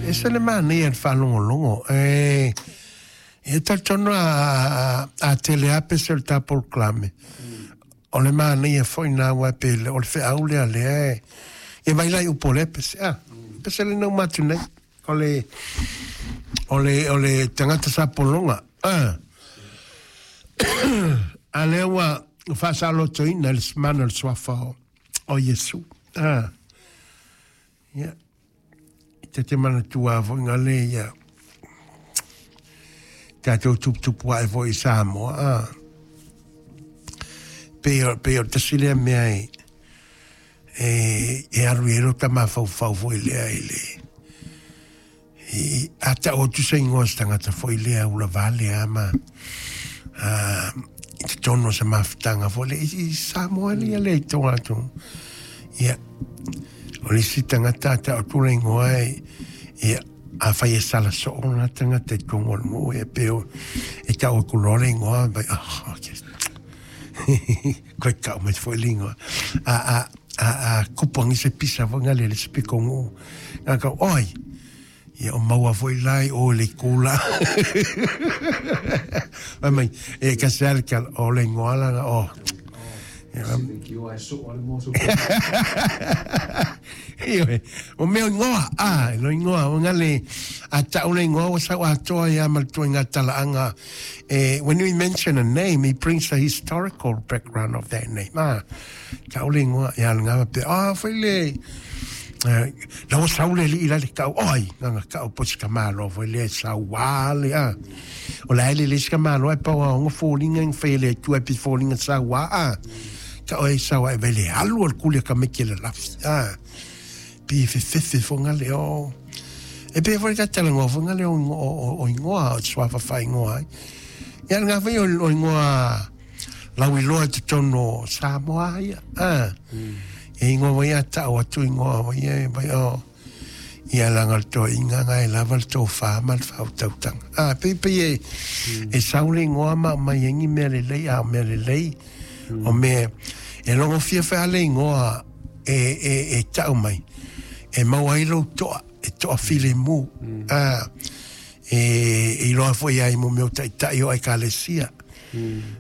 Ese le manaia i le faalogologo. E, e talitonu a tele lava pese o le ta polokalame, o le manaia foi lena aua e pei o le feau lea lea e, e vai la i upu o lea pese. Ah, pese lea na uma atu nei. O le tagata sa pologa. Ah. A lea ua faasaolotoina i le mana o le suafa o Iesu. Ah. Ia. Ta te manatua foi ngale ia tatou tuputupu ae foi i Samoa. Ah. Pei o le tasi lea mea e alu i ai lo ta mafaufau foi lea i le i a ta'u atu se igoa se tagata foi lea ua lavale a ma i totonu o se mafutaga foi lea i Samoa ia le i toga atu. Ia, o le isi tagata a ta'u atu le igoa e, ia, afai e sala soo lena tagata i totonu o le nuu, ia pei o e ta'u atu loa le igoa, vai, oh, okay. Koe ta'u mai foi le igoa. A kupu agi se pisa foi ngale le se piko nuu. Nga kau, oi, ia o maua foi lai o le kula. Vai mai, e ka se ale kala, o le igoa lana, o. Ioe, o mea o igoa, a, lo igoa, o ngale, a ta'u le igoa ua sau atoa ia ma le tuaiga talaaga. When we mention a name, he brings the historical background of that name. Ah, ta'u le igoa, ia le ngava pe, ah, foi le, la ua sau le alii la le kau, oi, nganga kau po se ka malo foi le sau wā le, ah. O la ele le se ka malo e pau a onga fōlinga ing whai le tua e pi fōlinga sau wā, ah. Ka oe sau e vele alu o le kuli ka meke le lafi, ah. Pi fefefe fo ngale o. E pe foi ka tala ngoa fo ngale o ingoa o suafa fa ingoa ai. Ia ngā whai o ingoa lau iloa i totonu o Samoa ia. Ah. E ingoa wai a tau atu ingoa wai e vai o. Ia langa le toa inga ngai lava le tō whā ma le whautautanga. Ah, pe pe e sau le ingoa ma mai engi mea le lei, a mea le lei. O mea, e longo fia whea le ingoa e tau mai. E mau ai lou toa, e toa file mu. Ah, e iloa foi ai mo mea o ta'ita'i o Ekalesia.